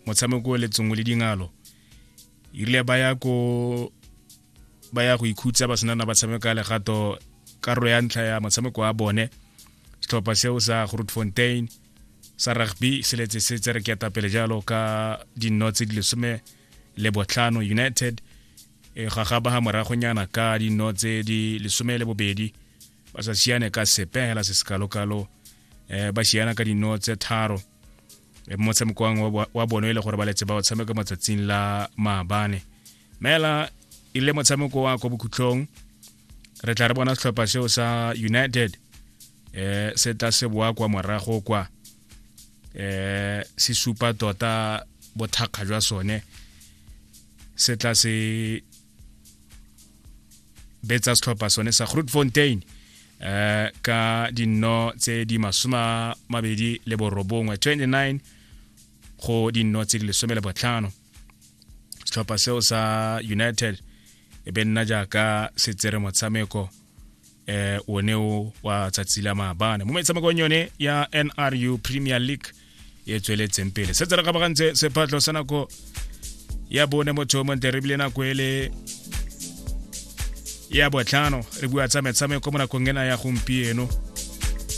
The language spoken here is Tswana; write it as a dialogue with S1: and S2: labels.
S1: Motshameko le tsongwe le dingalo erile ba ya ko ba ya go ikhutsa, ba senana ba tshameka legato karolo ya ntlha ya motshameko wa bone. Setlhopha seo sa Grootfontein sa rugby se letse se tsere ketapele jalo ka dinno tse di 15. United e gagaba ga moragonyana ka dinno tse di 12, ba sa siane ka sepe hela se sekalokalo, ba siana ka dinno tse 3 motshamekong wa bone e le gore ba letse ba o tshameka matsatsing la maabane. Mela e le motshameko wa kwa bokhutlong, re tla re bona setlhopha seo sa United se tla se boa kwa morago kwa, se supa tota bothakga jwa sone, se tla se betsa setlhopha sone sa Grootfontein ka dinno tse di 29, 29 go dinno tse di 15. Setlhopha seo sa United e be nna jaaka se tsere motshameko one o wa tsatsi la maabane mo metshamekong yone ya NRU Premier League e tsweletseng pele. Se tsere gabagantse sephatlho sa nako ya bone, motho o montle, re bile nako ele ya botlhano re bua tsa metshameko mo nakong ena ya gompieno.